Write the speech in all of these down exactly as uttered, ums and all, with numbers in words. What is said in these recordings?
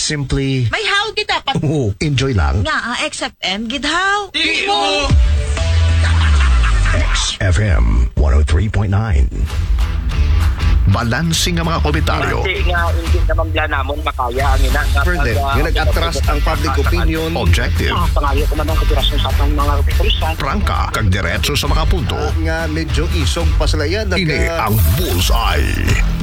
Simply, may haw kita pa. Oo, enjoy lang. Nga, ah, X F M, gid haw. Timo! X F M one oh three point nine. Balanse nga mga komentaryo. Hindi nga, hindi naman bla namon makaya ang ina nga Further, pag, ah, nga nag-atras ang public opinion. Objective. Ah, pangayo ko man ang kooperasyon sa atong mga kapulisan. Prangka, kag diretso sa mga punto. Ah, nga medyo isog pa sila yan. Ini ang Bullseye.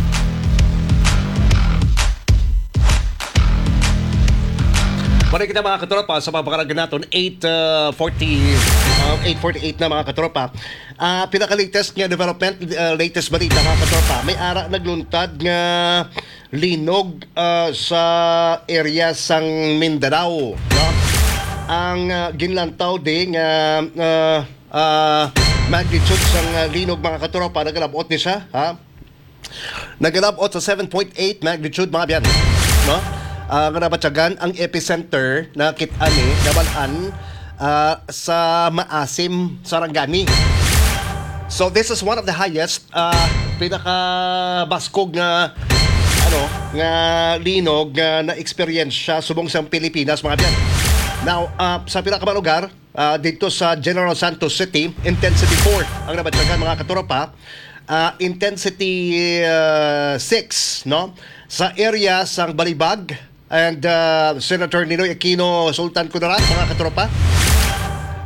Muna kita, mga katropa, sa pagpakaragan naton, eight forty, uh, eight forty-eight na, mga katropa. Ah, pinaka-latest nga development, uh, latest balita, mga katropa. May ara nagluntad nga linog, uh, sa area sang Mindanao, no? Ang, uh, ginlantaw di nga, uh, uh, magnitude sang, uh, linog, mga katropa, nagalabot ni siya, ha? Nagalabot sa seven point eight magnitude, mga biyan, no? Ah, nga nabatyagan ang epicenter na kit-, ani, nabalaan, ah, sa Maasim, Sarangani. So, this is one of the highest, ah, pinakabaskog nga, ano, nga linog nga na-experience siya subong sa Pilipinas, mga biyan. Now, ah, sa pila ka mga lugar, ah, dito sa General Santos City, intensity four ang nabatyagan, mga katropa. Ah, intensity, ah, six, no? Sa area sang Balibag, and, ah, Senator Ninoy Aquino, Sultan Kudarat, mga katropa.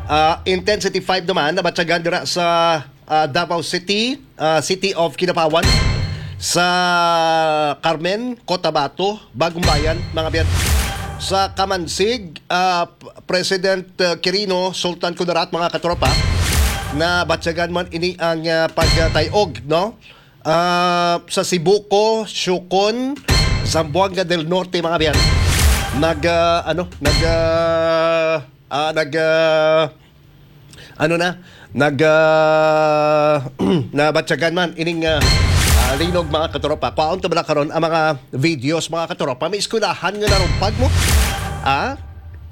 Ah, intensity five naman, nabatyagan dira sa, ah, Davao City, ah, City of Kidapawan, sa Carmen, Cotabato, Bagumbayan, mga biyan. Sa Camansig, ah, President, uh, Quirino, Sultan Kudarat, mga katropa, nabatyagan man ini ang, uh, pagtay-og, no? Uh, sa Sibuco, Siucon, Zamboanga del Norte, mga biyan. Nag, uh, ano, nag, uh, uh, nag, uh, ano na, nag, uh, nabatyagan man ining, uh, uh, linog, mga katropa. Kwaon ta bala karon ang mga videos, mga katropa. May eskwelahan nga narumpag mo. Ah?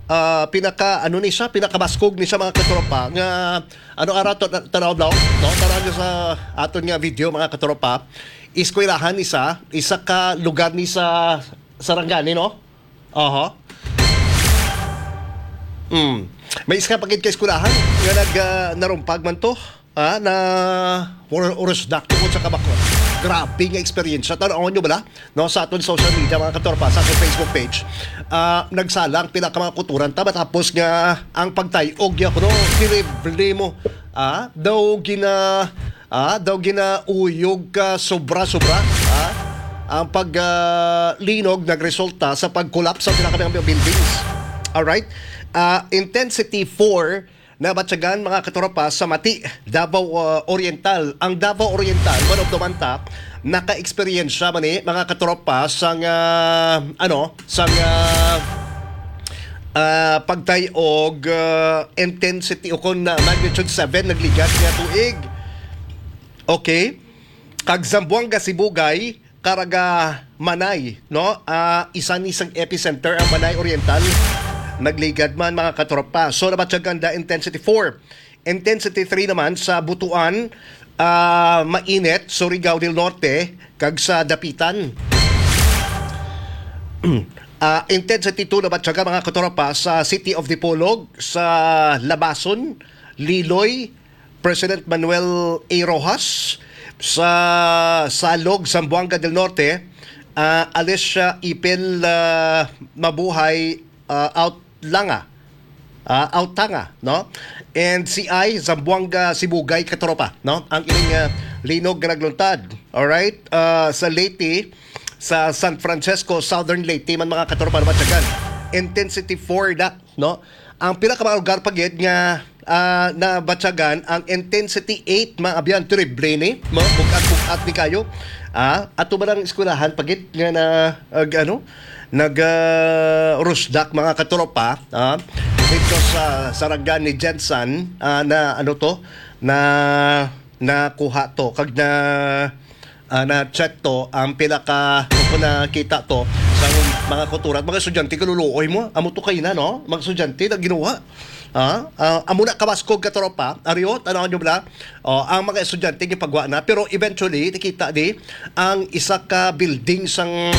Ah, pinaka, ano ni siya, pinakabaskog ni siya, mga katropa, nga, ano, ara to, ta-, tanaw daw, no? Tanaw niyo sa aton nga video, mga katropa. Eskwelahan ni sa, isa ka lugar ni sa Sarangani, no? Aha. Mm. May isa pa gid ka eskwelahan nga nag, ah, narumpag man to. Ah, na or-, urusdak tungod sa kabakod. Grabe nga eksperyensya. Tan-awon nyo bala? No, sa aton social media, mga katropa, sa aton Facebook page, ah, nagsala ang pila ka mga kuturan ta matapos nga ang pagtay-og niya kuno, terrible mo. Ah, daw gina-, ah, daw ginauyog ka sobra-sobra. Ah, ang pag, ah, linog nagresulta sa pag-collapse sa pila ka mga buildings. Alright? Ah, intensity four nabatyagan, mga katropa, sa Mati, Davao, uh, Oriental. Ang Davao Oriental, one of the manta, naka-eksperyensya man ni, mga katropa, sang, uh, ano, sang, uh, uh, pagtay og, uh, intensity o kon, uh, magnitude seven nagligad nga tuig. Okay? Kag Zamboanga Sibugay, Caraga, Manay, no? Ah, isa ni sang epicenter ang Manay Oriental. Nagligad man, mga katropa. So, nabatyagan da intensity four. Intensity three naman sa Butuan, ah, Mainit, Surigao del Norte, kag sa Dapitan. Ah, intensity two nabatyagan, mga katropa, sa City of Dipolog, sa Labason, Liloy, President Manuel A. Roxas, sa Salog, Zamboanga del Norte, ah, Alicia Ipil, ah, Mabuhay, ah, Outlanga, ah, Outanga, no? And C I, Zamboanga Sibugay, katropa, no? Ang ining, ah, linog nga nagluntad. Alright? Ah, sa Leyte, sa San Francisco, Southern Leyte man, mga katropa, nabatyagan. Intensity four na, no? Ang pila ka mga lugar pa gid nga, ah, nabatyagan ang intensity eight, mga abyan, terrible ni, mga bugat-bugat ni kayo. Ah, ato ba lang eskwelahan pa gid nga na, ag-, ano, nag, ah, rusdak, mga katropa, ah, dito sa Sarangani Gensan, ah, na ano to, na nakuha to, kag na ah, na-check to, ang pila ka, kung nakita to, sa mga kuturan, mga estudyante, kaluluoy mo, amo to kaina, no? Mga estudyante, na ginuha. Ah, ah, amo na kabaskog, katropa. Ariyo, tanaw nyo bala? Oh, ang mga estudyante, gipagwa na. Pero eventually, nakita di, ang isa ka building sang,